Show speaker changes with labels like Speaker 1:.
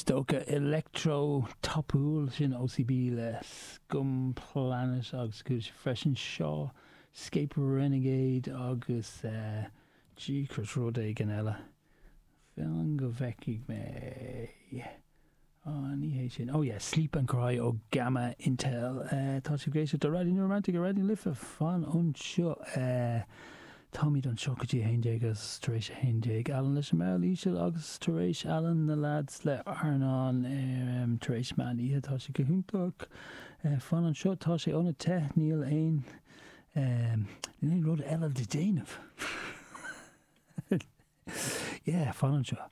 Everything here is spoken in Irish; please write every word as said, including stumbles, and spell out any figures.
Speaker 1: Dócha electro tapúil sin OCB le Scum Planet agus chuala sibh freisin Shaw Scape Renegade agus uh, Jeekers rud éigin eile. Fan go bhfeicfidh mé. Oh, ní hé sin. Oh yeah, Sleep and Cry ó Gamma Intel. Uh, tá sibh ag éisteacht le Raidió New Romantic ar Raidió na Life fan anseo. Uh, Táimid anseo go dtí haon déag agus tar éis haon déag Alan leis an mball íseal agus tar éis Alan na lads le Arnán um, tar éis meán oíche tá sé go hiontach. Uh, fan anseo tá sé óna te níl aon um, níl aon rud eile le déanamh. yeah, fan anseo.